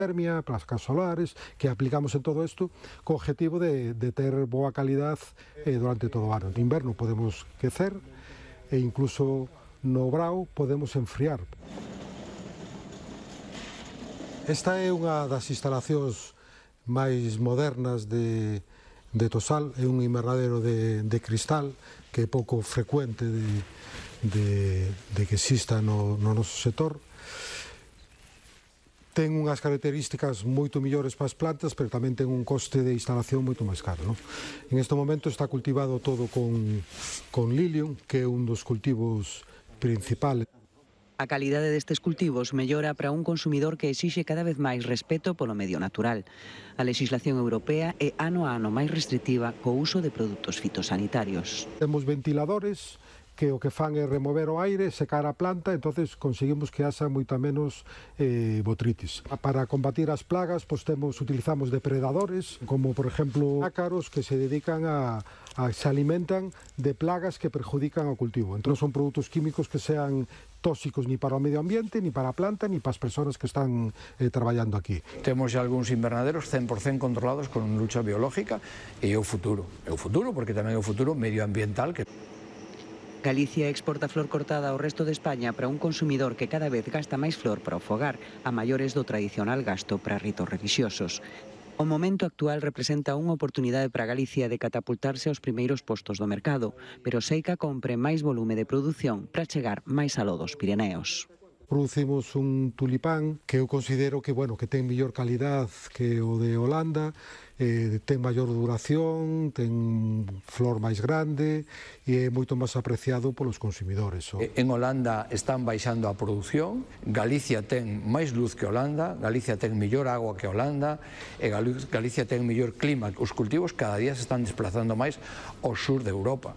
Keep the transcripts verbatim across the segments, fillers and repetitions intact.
termia, placas solares, que aplicamos en todo isto co objetivo de, de ter boa calidad eh, durante todo o ano. No inverno podemos quecer e incluso no brao podemos enfriar. Esta é unha das instalacións máis modernas de, de Tosal, é un invernadero de, de cristal que é pouco frecuente de, de, de que exista no, no noso sector. Ten unhas características moito millores para as plantas, pero tamén ten un coste de instalación moito máis caro, non? En este momento está cultivado todo con, con lilium, que é un dos cultivos principales. A calidade destes cultivos mellora para un consumidor que exixe cada vez máis respeto polo medio natural. A legislación europea é ano a ano máis restrictiva co uso de produtos fitosanitarios. Temos ventiladores que o que fan é remover o aire, secar a planta, entonces conseguimos que haxa moita menos eh, botritis. Para combatir as plagas, pois temos, utilizamos depredadores, como por exemplo ácaros que se dedican a, a se alimentan de plagas que perjudican ao cultivo. Entón son produtos químicos que sean tóxicos ni para o medio ambiente, ni para a planta, ni para as persoas que están eh, traballando aquí. Temos xa algúns invernaderos cen por cen controlados con lucha biológica e é o futuro. É o futuro porque tamén é o futuro medioambiental que... Galicia exporta flor cortada ao resto de España para un consumidor que cada vez gasta máis flor para o fogar, a maiores do tradicional gasto para ritos relixiosos. O momento actual representa unha oportunidade para Galicia de catapultarse aos primeiros postos do mercado, pero Seica compre máis volume de produción para chegar máis aló dos Pirineos. Producimos un tulipán que eu considero que, bueno, que ten mellor calidad que o de Holanda, eh, ten maior duración, ten flor máis grande e é moito máis apreciado polos consumidores. En Holanda están baixando a produción, Galicia ten máis luz que Holanda, Galicia ten mellor agua que Holanda e Galicia ten mellor clima. Os cultivos cada día se están desplazando máis ao sur de Europa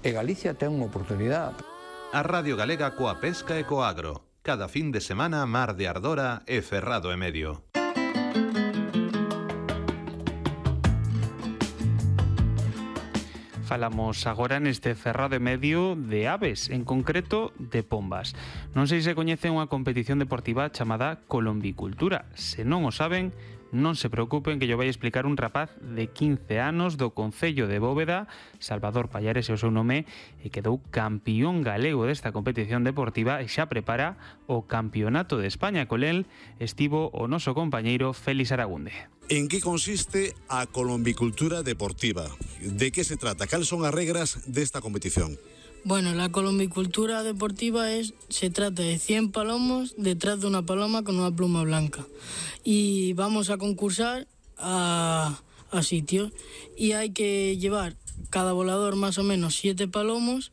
e Galicia ten unha oportunidade. A Radio Galega coa pesca e co agro. Cada fin de semana, Mar de Ardora e Ferrado e Medio. Falamos agora neste Ferrado e Medio de aves, en concreto de pombas. Non sei se coñecen unha competición deportiva chamada colombicultura. Se non o saben, non se preocupen que yo vai explicar un rapaz de quince anos do Concello de Bóveda, Salvador Pallares é o seu nome, e quedou campión galego desta competición deportiva e xa prepara o Campeonato de España. Con el estivo o noso compañeiro Félix Aragunde. En que consiste a colombicultura deportiva? De que se trata? Cales son as regras desta competición? Bueno, la colombicultura deportiva es, se trata de cien palomos detrás de una paloma con una pluma blanca. Y vamos a concursar a, a sitios. Y hay que llevar cada volador más o menos siete palomos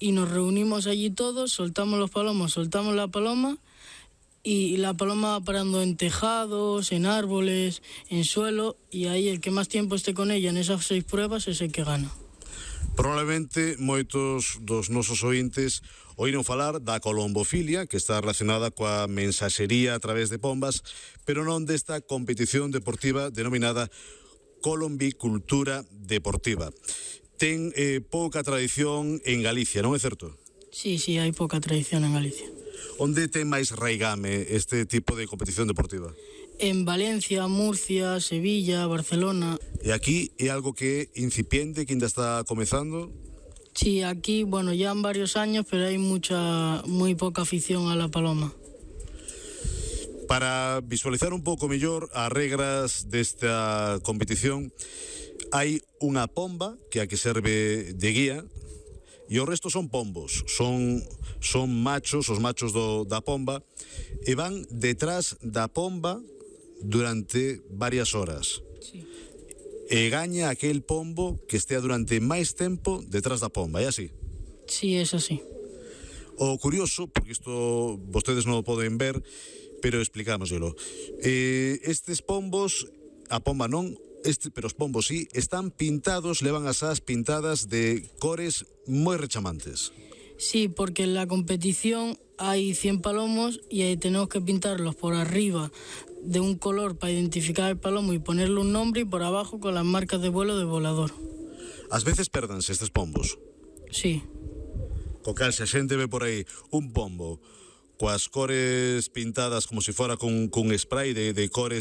y nos reunimos allí todos, soltamos los palomos, soltamos la paloma y la paloma va parando en tejados, en árboles, en suelo, y ahí el que más tiempo esté con ella en esas seis pruebas es el que gana. Probablemente moitos dos nosos ointes oíron falar da colombofilia, que está relacionada coa mensaxería a través de pombas, pero non desta competición deportiva denominada colombicultura deportiva. Ten eh, pouca tradición en Galicia, non é certo? Sí, sí, hai pouca tradición en Galicia. Onde ten máis raigame este tipo de competición deportiva? En Valencia, Murcia, Sevilla, Barcelona. E aquí é algo que é incipiente, que ainda está comezando? Sí, aquí, bueno, ya han varios años, pero hay mucha, muy poca afición a la paloma. Para visualizar un pouco mellor as regras desta competición, hai unha pomba que a que serve de guía, e o resto son pombos, son, son machos, os machos do, da pomba, e van detrás da pomba durante varias horas. Sí. E gaña aquel pombo que estea durante máis tempo detrás da pomba, é así? Sí, es así. O curioso, porque isto vostedes non o poden ver, pero explicámoslo. Eh, estes pombos, a pomba non, este, pero os pombos sí, están pintados, levan as as pintadas de cores moi rechamantes. Sí, porque en la competición hay cien palomos y ahí tenemos que pintarlos por arriba de un color para identificar el palomo y ponerle un nombre, y por abajo con las marcas de vuelo del volador. Ás veces perdanse estes pombos. Sí. Co cal, se a xente ve por aí un pombo coas cores pintadas como se fora con, con spray de, de cores